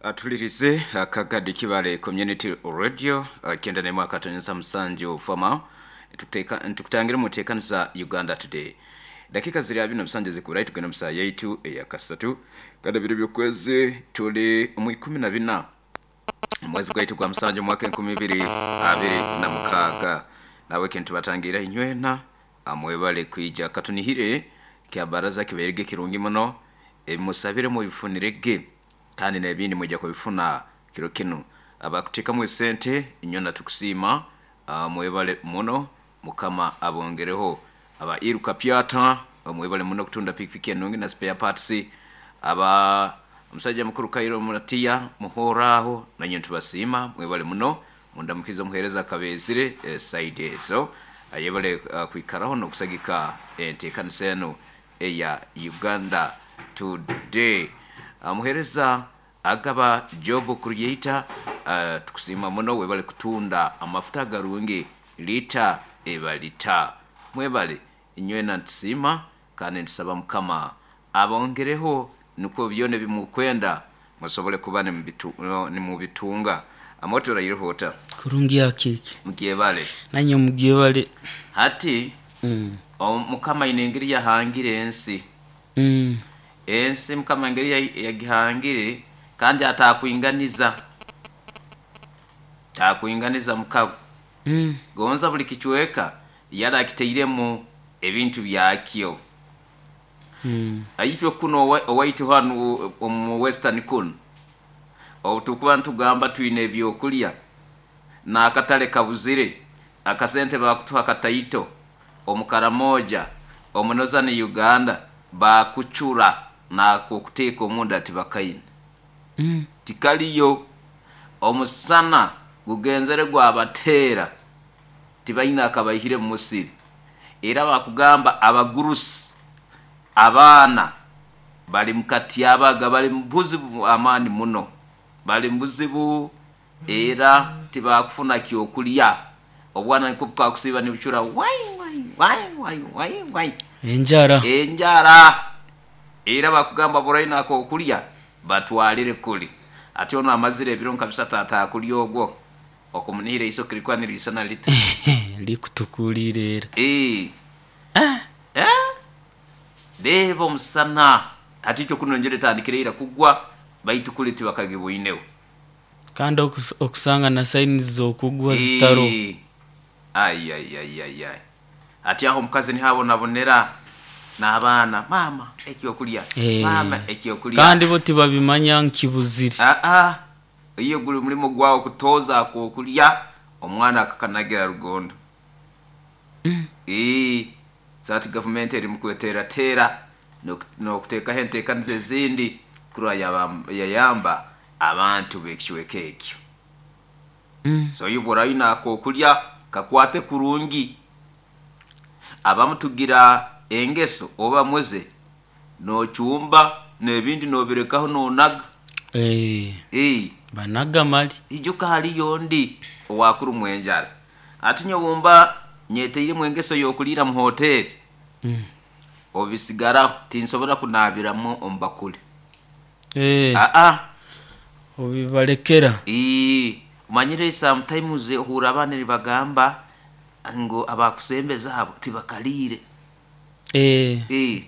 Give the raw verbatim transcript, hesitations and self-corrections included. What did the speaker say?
Atulirize akagadi Kibale Community Radio kyenda nemu akatonyeza musanju fama ntukutangire mutekanisa Uganda Today. Dakika ziri abiri na musanju zikurayi tugenda musaa yaitu eyakasatu kada biro by'okwezi tuli mu ikumi na bina mwezi gwaitu gwa musanju mwaka enkumi ibiri abiri na mukaaga. Nawe kintu batangira inywena amwebale kwija katunihire kya baraza kiberege kirungi muno emusabire mubifunirege kandi n'ebindi mwijja kubifuna kiro kinu. Abakutekamu esente inywena tukusiima, mwebale muno, Mukama abongereho. Aba Iruka Pyata mwebale muno kutunda pikipiki enungi na spare parts. Aba omusajja mukuru Kairo Muratia muhoraho nanye tubasiima mwebale muno, mundamukiza muhereza akabezire e, side ezo ayebale uh, kwikaraho n'okusagika enteekanisa eno eya Uganda Today. Muhereza agaba job creator, uh, tukusiima muno webale kutunda amafuta garungi lita ebalita mwebale inywena ntusiima kandi ntusaba Mukama abongereho nukwo byona bimukwenda musobole kuba nimubitunga. Amoto rayiruhota kurungi akiki mugyebale nanye mugyebale hati mm. Mukama ine engeri yahangire ensi mm. Ensi Mukama engeri yagihangire kandi atakwinganiza takwinganiza mukago mm. Gonza buli kichweka yali akiteiremu ebintu byakyo. mm. Aitwe kuno owaitu hanu omu western kuno otukuba ntugamba twine ebyokulya n'akatale kabuzire akasente bakutuha kataito omukaramoja omunoza ni Uganda bakucura nakokuteeka omunda tibakaine mm. Tikaliyo omusana gugenzere gwabateera tibaina akabaihire mu musiri. Era bakugamba abagurusi abaana bali mukatyabaga bali mubuzibu amaani muno bali mubuzibu era tibakufuna kyokulya obwana niko bukakusiiba nibucura wai wai wai wai wai wai enjara enjara era bakugamba buraina akokulya batwalire kuli ate ono amazire ebiro nka bisatu atakulya ogwo okumunihira isoke likuba nirisana lita likutukulire era ee ah. Eh? Reeba omusana hati itwe kuno enjura etandikire ira kugwa baitu kuli tibakagibwineho kandi okus- okusanga na saini z'okugwa zitaro Ee. Ai ai ai ai ai ati aho omukazi nihabonabonera n'abaana mama ekyokulya Eh. mama ekyokulya kandi bo tibabimanya nkibuzire aa iyo guli mulimo gwawe kutoza akokulya omwana akakanagira rugondo mm. ee sati gavumenti eri mukweteerateera n'okuteekaho enteekaniza ezindi kurwa yayamba abantu b'ekicweka ekyo. Mm. So iyo bw'orayina akokulya kakwate kurungi. Abamu tugira engeso oba muze n'ocumba n'ebindi n'obirekaho n'onaga. Eh, Ee banaga mali ijuka haliyo ndi owakurumwa enjara ati nyobumba nyeteiremu engeso y'okuliira mu hoteri mm. obisigaraho tinsobora kunaabiramu omu bakuli. Eh, Aa obibalekera ee omanyire sometimes ohurra abaana nibagamba ngu abakusembeza abo tibakaliire. eh. Ee.